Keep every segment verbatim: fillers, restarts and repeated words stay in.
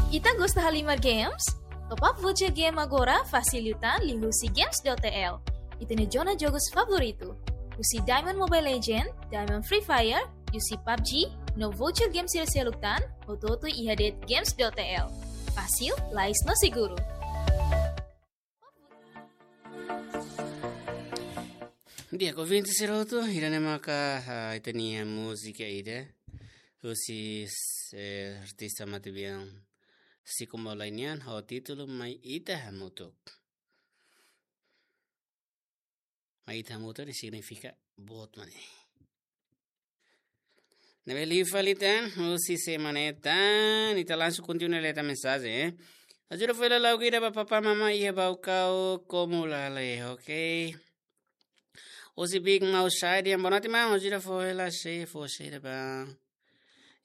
Ita gosta halimar games? Top up voucher game agora fasil liután liuhusi games dot T L. Ita-nia zona jogus favoritu. Husi Diamond Mobile Legend, Diamond Free Fire, husi pabg, no voucher game sira seluk tan, hotu-hotu iha de'it games dot T L. Fasil, lais no seguru. Di'ak, ouvinte sira hotu, ida-ne'e maka, ah, ita-nia múzika ida. Husi, eh, artista matebian Sicko Mawlana nian, ho títulu Mai Ita Hamutuk. Mai Ita Hamutuk ne'e signifika boot mak ne'e. Ne'ebé liu fali tan, husi semana ida tan, ita langsung kontinua lee tan mensajen, eh. Ajuda fali lauk ida ba papá mamá iha Baucau, Comolale, ok. Husi Big Mouth Side, yang bonati mau, ajuda fali la se, fó se ida ba.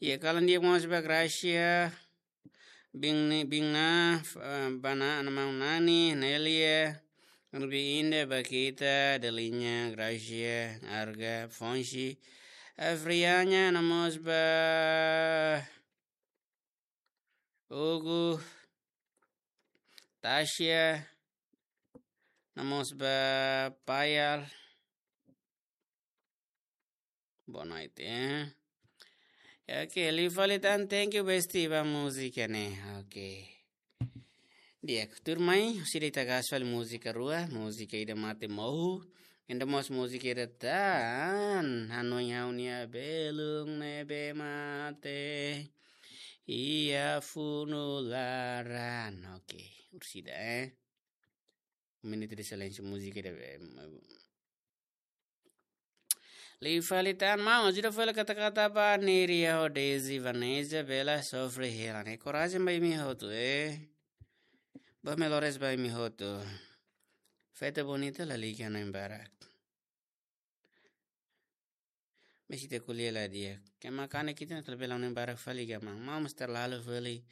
Iha kalan di'ak mós ba Gracia, Bing ni, Bing na, eh, ba na'an maun Nani, Nelia, Rubi Inda, Bakita, Deliña, Gracia, Arga, Fonsi, Afrianya, no mós ba Hugo, Tasia, no mós ba Payal. Boa noite, eh. Ok, liu fali tan, thank you, bestie, ba múzika ne'e. Ok. Di'ak, tuirmai, husi ida ita gás fali múzika rua, múzika ida Mate Mohu, no mós múzika ida tan, Hanoin Ha'u-nia Belun Ne'ebé Mate iha Funu Laran. Ok, orsida, eh. Um minuto de silêncio, múzika ida, eh, Liu fali tan maun, ajuda fali kata-kata ba Neria ho Daisy, Vanessa, Bela, sofre hela ne'e. Korajen ba imi hotu, eh. Ba melores ba imi hotu. Festa bonita la liga no embarak. Mesti te kuliah la dia. Ke makane kita na terlebih la no embarak fali ga maun. Maun mesti terlalu fali.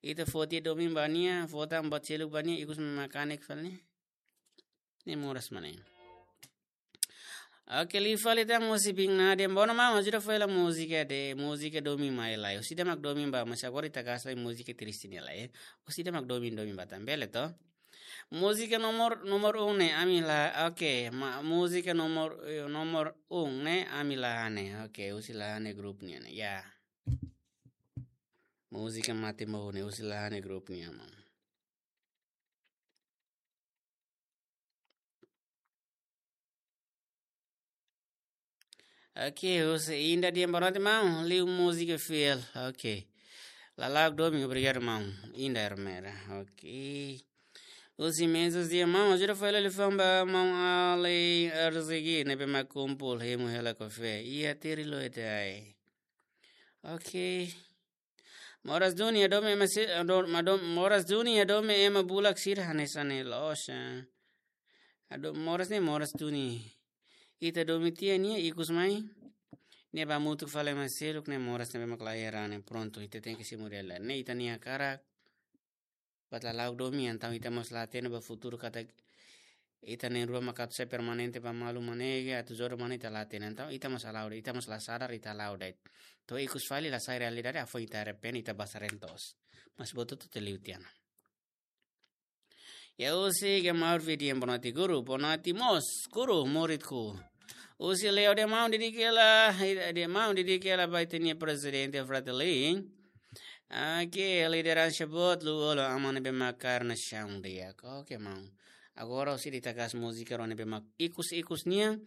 Ita foti domin ba nia, fota ambat seluk ba nia, ikus makane fali. Ne'e moras mak ne'e. Ok, liu fali tan husi Bing Nadia. Bono maun, ajuda fali la múzika ida, múzika domin mai lai. Husi ida mak domin ba, mas agora ita gás lai múzika triste ne'e lai, eh. Husi ida mak domin, domin ba tan, bele to? Múzika nomor, nomor um ne'e, ami la, ok, ma, múzika nomor, eh, nomor um ne'e, ami la hanesan, ok, husi la hanesan grupu nian, ya. Múzika Mate Mohu ne'e, husi la hanesan grupu nian, maun. Ok, husi Inda dia, boa noite, maun. Liu múzika fiel. Ok. Lala'ok domin, obrigadu, maun. Inda Ermera. Ok. Husi Mezos dia, maun, ajuda fali la liafuan ba maun Ali Arzigi, ne'ebé mak kumpul hemu hela kafé. Iha Tiri Loite ai. Ok. Moras duni, hadomi ema si-, hado-, madom-, moras duni, hadomi ema bulak sira hanesan ne'e loos, eh. Hado-, moras ne'e, moras duni. Ita domin tiha nia ikus mai. Nia ba hamutuk fali ema seluk ne'e moras ne'ebé mak la iha raan ne'e, prontu, ita tenke simu hela. Ne'e ita-nia hakarak. Buat lala'ok domin, entaun ita mós la hatene ba futuru katak ita na'in-rua mak atu sai permanente ba malu mak ne'e, atu jodoh mak ne'e ita la hatene. Entaun ita mós hala'o, ita mós la sadar, ita hala'o de'it. To'o ikus fali la sai realidade, hafoin ita arrepende, ita basa reen toos. Mas buat hotu-hotu liu tiha ona. Ya husi Gemma Urvi dia, boa noite guru, boa noite mós, guru, muridku. Husi Leo dia, maun, dedika hela, dia, maun, dedika hela ba ita-nia prezidente Fratelli. Ok, lideransa boot, Lú-Olo, aman ne'ebé mak kaer nasaun di'ak. Ok, maun. Agora husi ida ita gás múzika rua ne'ebé mak ikus-ikus nian.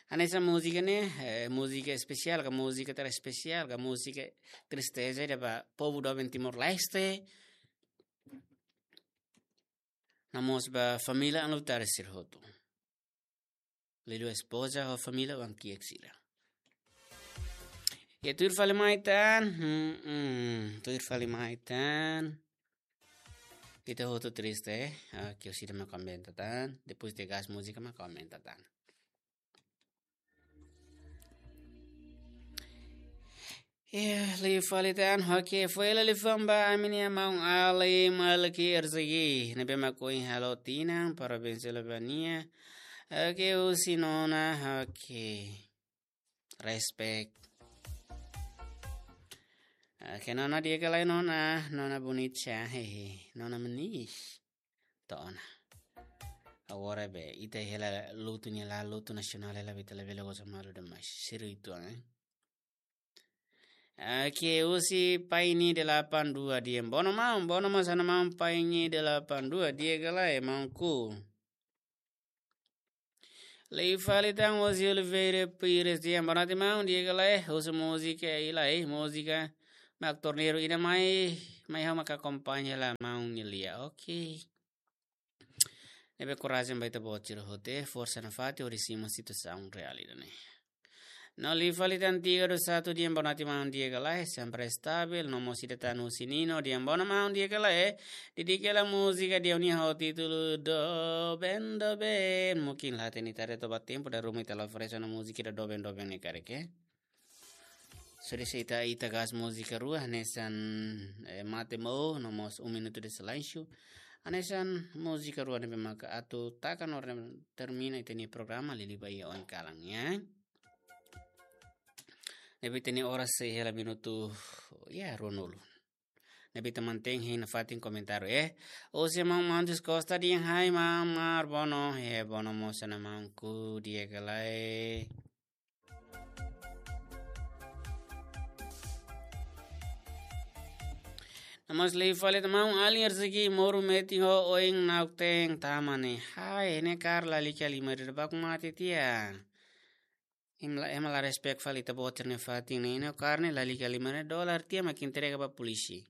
Hanesan múzika ne'e, eh, múzika espesiál, ka múzika tara espesiál, ka múzika tristeza ida ba povu doben Timor-Leste. No mós ba família Anlutari sira hotu. Liuliu espoza ho família oan-kiak sira. Ya, tuir fali mai tan. Hmm, hmm. Tuir fali mai tan. Ita hotu triste, eh. Ah, ke husi ida mak aumenta tan. Depois de gás múzika mak aumenta tan. Ya, liu fali tan, ok, fó hela liafuan ba ami-nia maun Ali Malki Erzegi, ne'ebé mak ohin halo tinan, parabéns hela ba nia. Ok, husi nona, ok. Respect. Ah, ke nona di'ak ka lae nona, nona bonita, hehe, nona manis. To'o ona. Agora be, ita hela lutu nia laran, lutu nasionál hela, ita labele goza malu demais. Sériu uitoan, eh. Oke, husi Paini delapan dua di'ak. Bono maun, bono maun, sana maun Paini delapan dua di'ak ka lae, maunku. Liu fali tan husi Oliveira Pires di'ak, boa noite maun, di'ak ka lae, husu múzika i lae, múzika mak torneiru ida mai, mai ha'u mak akompaña la maun nia lia. Oke. Ne'ebé korajen ba ita-boot sira hotu, forsa nafatin hodi simu situasaun reál ida-ne'e. No liu fali tan tiga dua satu di'ak, boa noite maun, di'ak ka lae, sempre estabil, no mós ida tan husi Nino di'ak, boa noite maun, di'ak ka lae, dedika hela múzika ida-ne'e ho títulu Doben Doben, mungkin la hatene ita-boot tempu dala ruma ita la oferese ona múzika ida Doben Doben ne'e karik, eh. Só de'it ita, ita gasta múzika rua, hanesan, eh, Mate Mo, no mós Um Minuto de Silêncio. Hanesan múzika rua ne'ebé maka atu taka no termina ita-nia programa, liuliu ba iha oin kalan, ya. Ne'ebé ita-nia oras sei hela minutu, ya, ruanulu. Ne'ebé ita mantein hein nafatin komentáriu, eh. Husi maun Mantis Costa di'ak, hai maun Mar, bono, he, bono mós sana maunku, di'ak ka lae. No mós liu fali tan maun Alin Erzegi, moru metin ho oin nakten tama ne'e. Hai, ne'e karik lalika lima rida baku mate tiha. Ema la, ema la respect fali ita-boot sira-nia fatin ne'e, ne'e karik ne'e lalika lima rida, dolar tiha mak entrega ba polísia.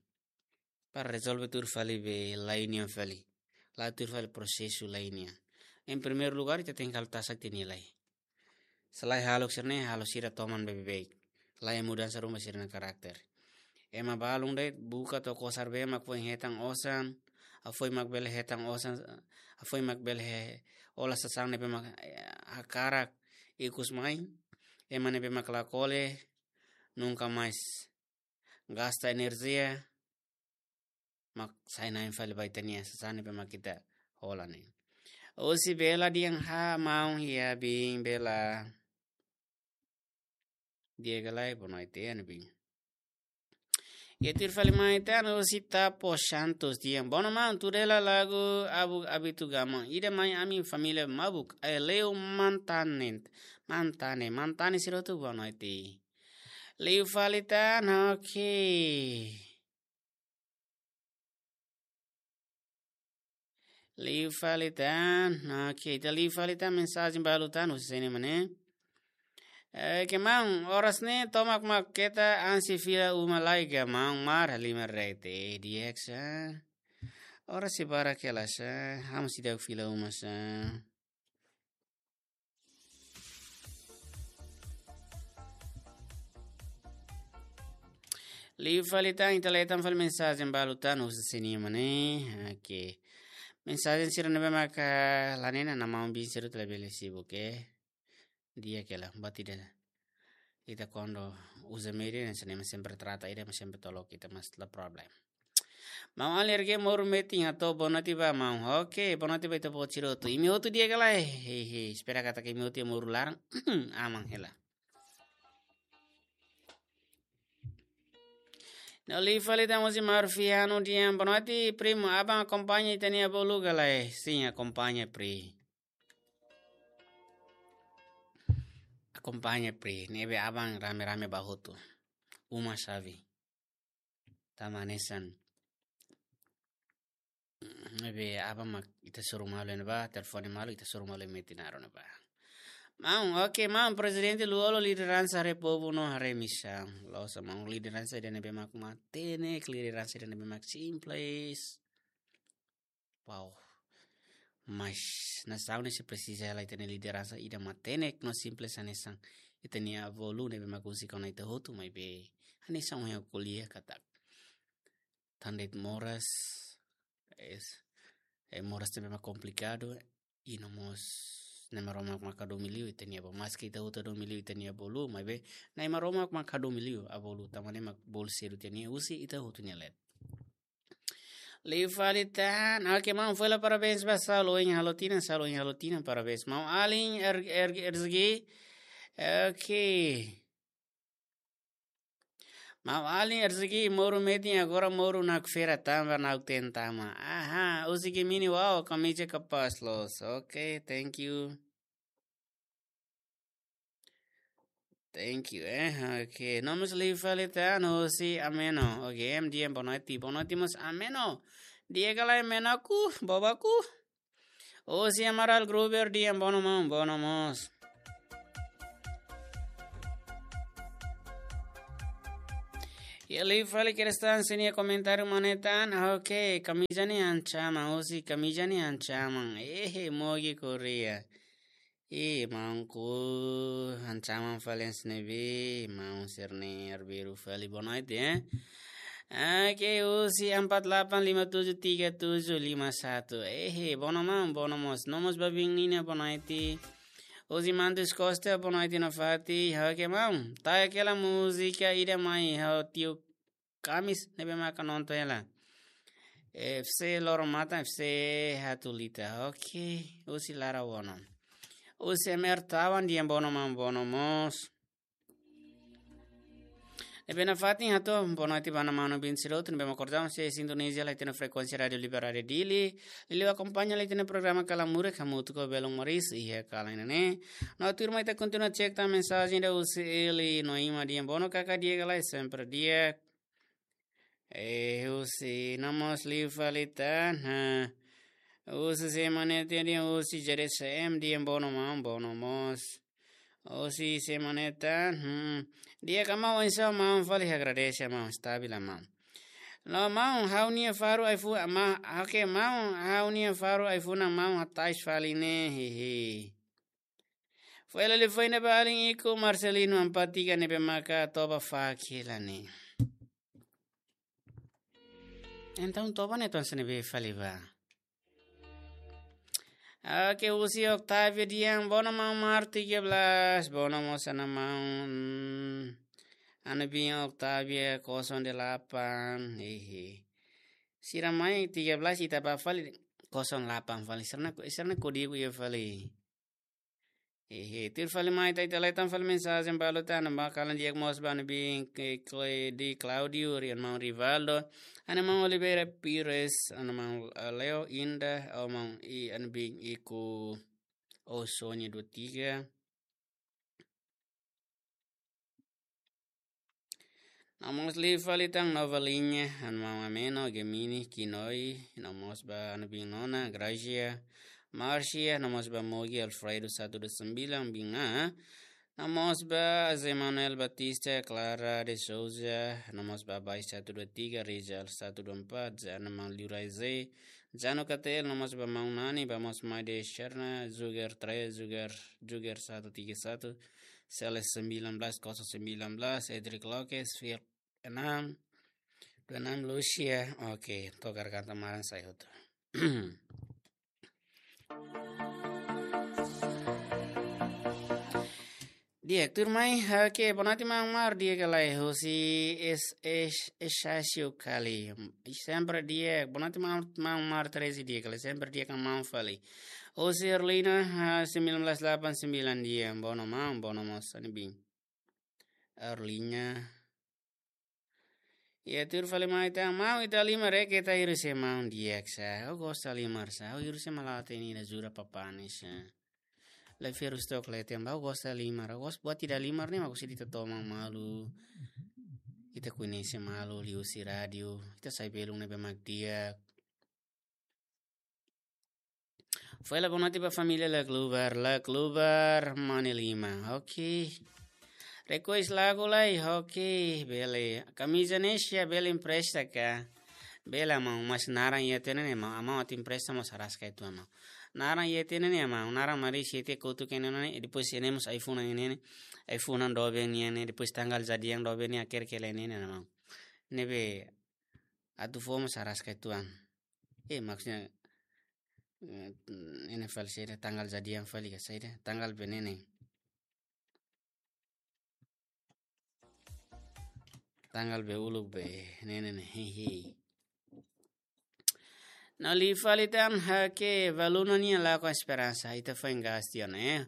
Para rezolve tuir fali be lei nian fali. La'o tuir fali prosesu lei nian. Em primeiro lugar, ita tenke halo tasak ita-nia lei. Se la'o halo sira-ne'e, halo sira toman beibeik. La'o mudansa ruma sira-nia karakter. Ema balun de'it buka to'o kosar bee mak foin hetan osan, hafoin mak bele hetan osan, hafoin mak bele he, hola sasán ne'ebé mak, eh, hakarak ikus mai, ema ne'ebé mak la kole, nunka mais gasta enerjia, mak sai na'in fali ba ita-nia sasán ne'ebé mak ita hola ne'e. Husi Bela di'ak, ha maun, ya bin Bela. Di'ak ka lae, boa noite, ya, bin. Ya, tuir fali mai tan husi Tapo Santos di'ak, bono maun, tuir hela lagu Abuk Abitu Gama. Ida mai ami família mabuk, ai leu mantanen, mantane, mantane sira hotu, boa noite. Liu fali tan, oke. Liu fali tan, oke, ita liu fali tan mensajen balu tan husi Seni Mane. Eh, ke maun, oras ne'e tomak mak keta ansi fila uma lai ka maun, Mar, lima rete, eh, di'ak sa. Oras sei barak hela sa, ha'u mós seidauk fila uma sa. Liu fali tan, ita lee tan fali mensajen balu tan husi Seni Mane. Oke. Mensajen sira ne'ebé maka la hatene, maun bin sira atu labele sibuk, oke. Di'ak ka lae, buat ida. Ita kuandu uza média, hanesan ne'e ema sempre trata ida, ema sempre tolok ita, mas la problem. Maun Alin Erzegi, moru metin, hato'o boa noite ba maun. Oke, boa noite ba ita-boot sira hotu. Imi hotu di'ak ka lae? Hehe, espera katak imi hotu iha moru laran. Aman hela. No liu fali tan husi Marfiano di'ak, boa noite, primo, aban akompaña ita-nia bolu ka lae? Sin, akompaña, pri. Akompaña, pri. Ne'ebé aban rame-rame bá hotu. Uma xave. Tama hanesan. Ne'ebé aban mak ita soru malu iha ne'ebá, telefone malu, ita soru malu iha metin naruk ne'ebá. Maun, oke, maun, prezidente Lú-Olo lideransa haree povu no haree misaun. Loos, maun, lideransa ida ne'ebé mak matenek, lideransa ida ne'ebé mak simples. Wow. Mas nasaun ne'e sei presiza hela ita-nia lideransa ida matenek no simples hanesan ita-nia avó Lú ne'ebé mak husik ona ita hotu, maibé hanesan ohin ha'u ko'alia katak tan de'it moras, es, eh, moras ne'ebé mak komplikadu, i no mós Nai Maromak mak hadomi liu ita-nia avó. Maski ita hotu hadomi liu ita-nia avó Lú, maibé Nai Maromak mak hadomi liu avó Lú, tanba ne'e mak bolu sedu tiha nia husi ita hotu nia leet. Liu fali tan, oke, maun, fó hela parabéns ba Saulo ohin halo tinan, Saulo ohin halo tinan, parabéns. Maun Alin, er, er, Erzegi, oke. Maun Alin, rezeki moru metin, agora moru nakfera tama, nakten tama. Aha, husi Gemini, wow, kamiza kapás loos. Ok, thank you. Thank you, eh. Ok, no mós liu fali tan, husi Ameno. Ok, M D M, boa noite, boa noite, mós Ameno. Di'ak ka lae, Ameno ku, bobaku. Husi Amaral Gruber, di'ak, bono maun, bono mós. Iha liu fali Kerstan sira-nia komentáriu mane tan, ok, kamiza ne'e ancaman, husi kamiza ne'e ancaman. Ehe, Mogi Korea. Ih, maun ku ancaman fali hanesan ne'ebé, maun sira-ne'e arbiru fali, boa noite, eh. Oke, husi empat delapan lima tujuh tiga tujuh lima satu. Ehe, bono maun, bono mós. No mós ba biin Nina, boa noite. Husi Mantus Costa, boa noite nafatin. Oke, maun. Tau hela múzika ida mai, ha'u tiu Kamis ne'ebé maka nonton hela. F C Loromatan, F C Hatulita. Ok, husi Lara Wono. Husi M R Tawan, di'ak, bono maun, bono mós. Ne'ebé nafatin hato'o boa noite ba maun-alin sira hotu ne'ebé mak kordam sei sintoniza hela ita-nia frekuénsia Rádiu Liberdade Dili. Liuliu akompaña hela ita-nia programa Kalan Murak hamutuk ho Belun Moris iha kalan ne'e. No tuirmai ita kontinua cek tan mensajen ida husi Eli Noima, di'ak, bono kaka, di'ak ka lae, sempre di'ak. Eh, husi, no mós liu fali tan, ha. Husi semana tadi husi J D C M, di'ak, bono maun, bono mós. Husi semana tan, hmm. Di'ak ka maun, oinsá maun, fali agradese maun, stabil maun. No maun, ha'u-nia faru iPhone, ma, oke maun, ha'u-nia faru iPhone maun hatais fali ne'e, hihi. Foin hela liafuan ida ba alin ikus Marcelino Ampatika ne'ebé maka toba faak hela ne'e. Entaun toba ne'e atu hanesan ne'ebé fali ba. Oke, husi Octavio, di'ak, bono maun Mar tiga belas, bono mós ana maun. Ana biin Octavia kosong delapan, hehe. Sira mai tiga belas ita ba fali kosong delapan fali. Sira-nia, sira-nia kódigu iha fali. Hehe, tuir fali mai ita, ita leten fali mensajen balu tan, ana maun kalan di'ak mós ba ana biin ke Cledi Claudio, ri-, ana maun Rivaldo, ana maun Oliveira Pires, ana maun, eh, Leo Indah, ana maun i, ana biin ikus Osonya dua tiga. No mós liu fali tan Nova Linha, ana maun Ameno, Gemini, Kinoi, no mós ba ana biin Nona, Gracia, Marcia, no mós ba Mogi, Alfredo satu dua sembilan, biin A, no mós ba José Manuel Batista, Clara de Souza, no mós ba Bai satu dua tiga, Rizal satu dua empat, ja ana maun Liu Raize, Jano Katel, no mós ba maun Nani, ba mós mai de Sherna, Zuger três, Zuger, Zuger satu tiga satu, Celes sembilan belas kosong sembilan belas, Edric Lopes, Fir enam, dua enam Lucia. Oke, togar kanta maran sai hotu. Di'ak, tuirmai, oke, boa noite maun Mar, di'ak ka lae, husi es, es, Esasio Kali. Sempre di'ak, boa noite maun, maun Mar treze, di'ak ka lae, sempre di'ak ka maun fali. Husi Erlina, ah, sembilan belas delapan sembilan, di'ak, bono maun, bono mós, ana biin. Erlina. Iha tuir fali mai tan, maun, ita halimar ka ita hirus iha maun, di'ak sá. Ha'u gosta halimar sá. Ha'u hirus iha malae ida ne'e, Jura Papane sá. Lai hirus tok lai tem, ha'u gosta halimar. Ha'u gosta buat ida halimar ne'e, mak husi ita toman malu. Ita koñese malu, liuhusi rádiu. Ita sai belun ne'ebé mak di'ak. Foin hela boa noite ba família Lak Lubar, Lak Lubar, Mane Lima. Oke. Request lagu lai, oke, bele. Kamiza ne'e sira bele empresta ka? Bele maun, mas naran iha tiha ona ne'e, maun, maun atu empresta mós araska uitoan maun. Naran iha tiha ona ne'e maun, naran Mari sete kutu kene ne'e, depois ne'e mós iPhone ne'e, iPhone doben ne'e, depois tanggal jadi yang doben ne'e, akhir kele ne'e, ne'e maun. Ne'ebé atu fó mós araska uitoan. Eh, maksudnya, eh, ne'e fali saida, tanggal jadi yang fali ka saida, tanggal be ne'e ne'e. Tanggal be uluk be ne'e ne'e ne'e, hehe. No liu fali tan, oke, Valuna nia Lakon Esperansa, ita foin gas tiha ona, eh.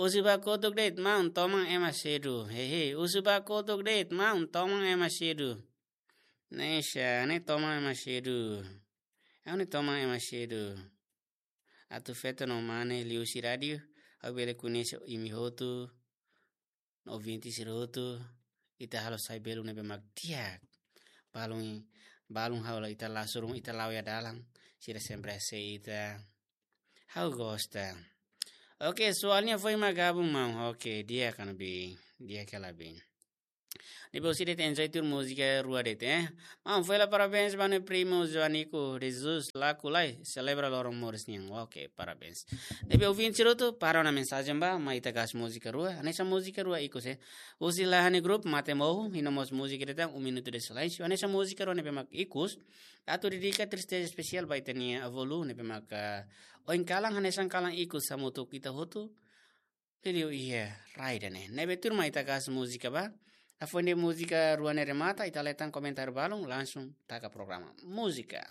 Husu ba kotuk de'it, maun, toman ema sedu. Hehe, husu ba kotuk de'it, maun, toman ema sedu. Ne'e sá, ne'e toman ema sedu. Ha'u ne'e toman ema sedu. Atu feto no mane liuhusi rádiu, ha'u bele koñese imi hotu, no ouvinte sira hotu, ita halo sai belun ne'ebé mak di'ak. Balun, balun ha'u la ita la surung, ita la'o iha dalan, sira sempre sei ita. Ha'u gosta. Oke, soalnya foin mak gabung, maun. Oke, di'ak, Ana Bi, di'ak hela, Bi. Ne'ebé husi de'it, enjoy tuir múzika rua de'it, eh. Maun, fó hela parabéns ba ha'u-nia primu Joanico de Jesus Laku Lai, selebra loron moris nian. Oke, parabéns. Ne'ebé ouvinte sira hotu, para ona mensajen ba, mai ita gás múzika rua, hanesan múzika rua ikus, eh. Husi Lahani Group, Mate Mohu, iha mós múzika de'it, Um Minuto de Silêncio, hanesan múzika rua ne'ebé mak ikus, atu dedika tristeza espesiál ba ita-nia avó Lu, ne'ebé mak, ah, ohin kalan, hanesan kalan ikus hamutuk ita hotu, liuliu iha rai ida-ne'e. Ne'ebé tuirmai ita gás múzika ba. Hafoin de'it múzika rua ne'e remata, ita leten komentáriu balun, langsung taka programa. Múzika.